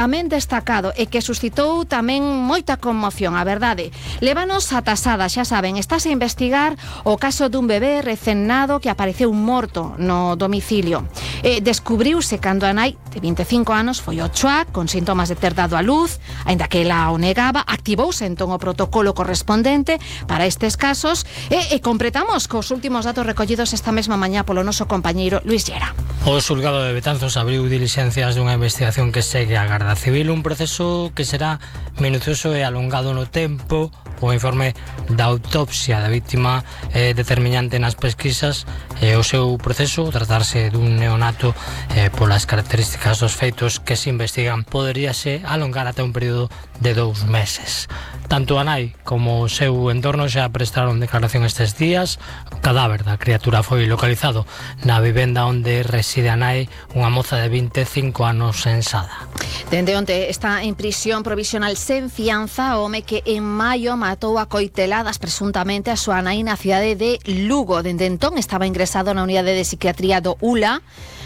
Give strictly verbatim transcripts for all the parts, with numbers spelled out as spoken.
Tamén destacado e que suscitou tamén moita conmoción, a verdade. Lévanos a tasada, xa saben, estás a investigar o caso dun bebé recén nado que apareceu morto no domicilio. Eh, descubriuse cando a nai de vinte e cinco anos foi ao chuac con síntomas de ter dado a luz, aínda que ela o negaba. Activouse entón o protocolo correspondente para estes casos e, e completamos cos últimos datos recollidos esta mesma mañá polo noso compañeiro Luis Llera. O xulgado de Betanzos abriu diligencias dunha investigación que segue a Garda Civil, un proceso que será minucioso e alongado no tempo. O informe da autopsia da vítima é determinante nas pesquisas e o seu proceso, tratarse dun neonato eh, polas características dos feitos que se investigan, poderíase alongar ata un período de dous meses. Tanto a nai como o seu entorno xa prestaron declaración estes días. O cadáver da criatura foi localizado na vivenda onde reside a nai, unha moza de vinte e cinco anos en Sada. Dende onte está en prisión provisional sen fianza o home que en maio matou a coiteladas presuntamente a súa nai na cidade de Lugo. Dende entón estaba ingresado na unidade de psiquiatría do U L A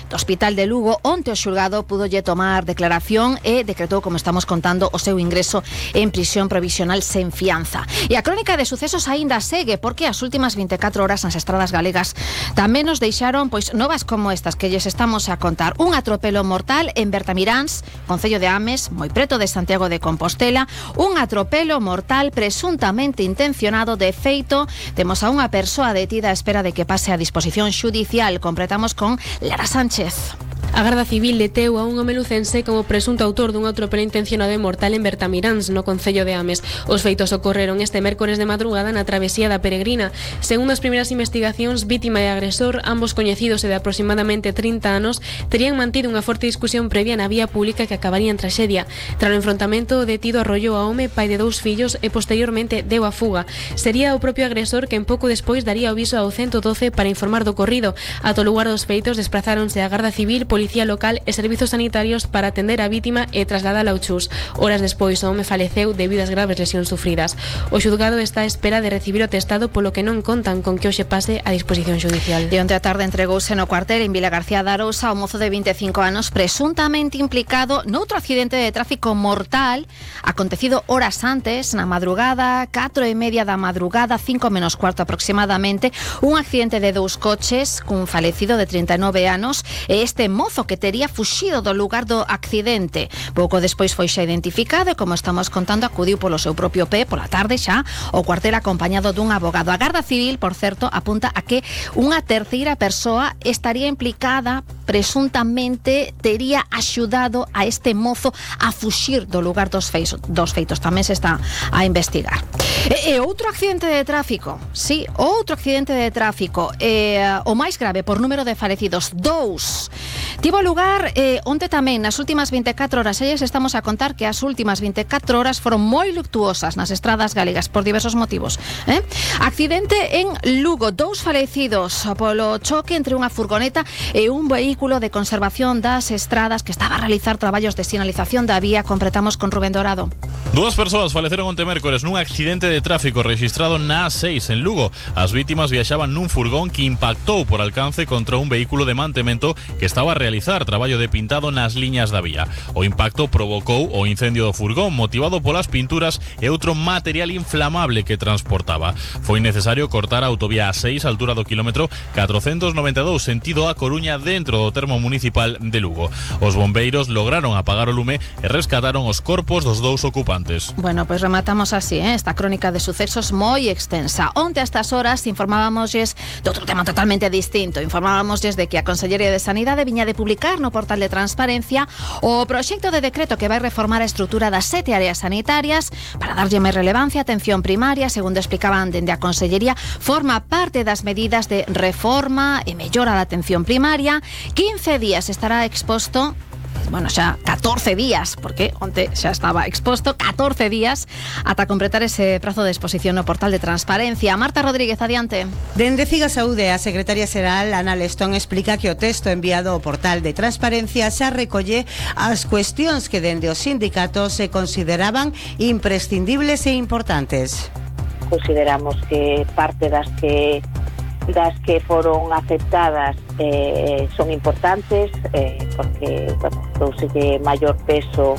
do Hospital de Lugo, onte o xulgado pudolle tomar declaración e decretou, como estamos contando, o seu ingreso en prisión provisional sen fianza. E a crónica de sucesos aínda segue, porque as últimas vinte e catro horas nas estradas galegas tamén nos deixaron pois novas como estas que lles estamos a contar. Un atropelo mortal en Bertamiráns, concello de Ames, moi preto de Santiago de Compostela. Un atropelo mortal presuntamente intencionado. De feito, temos a unha persoa detida á espera de que pase a disposición xudicial. Completamos con Lara Sánchez. A Garda Civil deteu a un home lucense como presunto autor dun atropelo intencionado e mortal en Bertamiráns, no concello de Ames. Os feitos ocorreron este mércores de madrugada na travesía da Peregrina. Segundo as primeiras investigacións, vítima e agresor, ambos coñecidos e de aproximadamente trinta anos, terían mantido unha forte discusión previa na vía pública que acabaría en traxedia. Tras o enfrontamento, o detido arrollou a home, pai de dous fillos, e posteriormente deu a fuga. Sería o propio agresor quen pouco despois daría o aviso ao ciento doce para informar do ocorrido. Ata o lugar dos feitos desprazáronse a Garda Civil, Policía Local e Servizos Sanitarios para atender a vítima e trasladala ao Chus. Horas despois o home faleceu debido ás graves lesións sufridas. O xulgado está á espera de recibir o atestado, polo que non contan con que hoxe pase a disposición xudicial. De onte a tarde entregouse no cuartel en Vila García de Arousa o mozo de vinte e cinco anos presuntamente implicado noutro accidente de tráfico mortal acontecido horas antes, na madrugada, catro e media da madrugada, cinco menos cuarto aproximadamente. Un accidente de dous coches cun falecido de trinta e nove anos e este mozo que tería fuxido do lugar do accidente. Pouco despois foi xa identificado e, como estamos contando, acudiu polo seu propio pé pola tarde xa ao cuartel acompañado dun abogado. A Garda Civil, por certo, apunta a que unha terceira persoa estaría implicada, presuntamente tería axudado a este mozo a fuxir do lugar dos feitos. Dos feitos tamén se está a investigar. E, e outro accidente de tráfico, sí, outro accidente de tráfico, e, o máis grave por número de falecidos, dous. Tivo lugar eh, onte tamén, nas últimas vinte e catro horas. Elles estamos a contar que as últimas vinte e catro horas foron moi luctuosas nas estradas galegas por diversos motivos. Eh? Accidente en Lugo, dous falecidos polo choque entre unha furgoneta e un vehículo de conservación das estradas que estaba a realizar traballos de sinalización da vía. Completamos con Rubén Dorado. Dúas persoas faleceron onte mércores nun accidente de tráfico registrado na A seis en Lugo. As vítimas viaxaban nun furgón que impactou por alcance contra un vehículo de mantemento que estaba a realizar traballo de pintado nas liñas da vía. O impacto provocou o incendio do furgón motivado polas pinturas e outro material inflamable que transportaba. Foi necesario cortar a autovía A seis á altura do kilómetro catrocentos noventa e dous sentido a Coruña dentro do termo municipal de Lugo. Os bombeiros lograron apagar o lume e rescataron os corpos dos dous ocupantes. Bueno, pois pues rematamos así, ¿eh? Esta crónica de sucesos moi extensa. Onte a estas horas informábamosles de outro tema totalmente distinto. Informábamosles de que a Consellería de Sanidade viña de publicar no portal de transparencia o proxecto de decreto que vai reformar a estrutura das sete áreas sanitarias para darlle máis relevancia á atención primaria. Segundo explicaban dende a Consellería, forma parte das medidas de reforma e mellora da atención primaria. quince días estará exposto, bueno, xa catorce días, porque onte xa estaba exposto, catorce días ata completar ese prazo de exposición no portal de transparencia. Marta Rodríguez, adiante. Dende Figa Saúde, a secretaria xeral Ana Lestón explica que o texto enviado ao portal de transparencia xa recolle as cuestións que dende os sindicatos se consideraban imprescindibles e importantes. Consideramos que parte das que das que foron aceptadas eh, son importantes eh, porque, bueno, douselle maior peso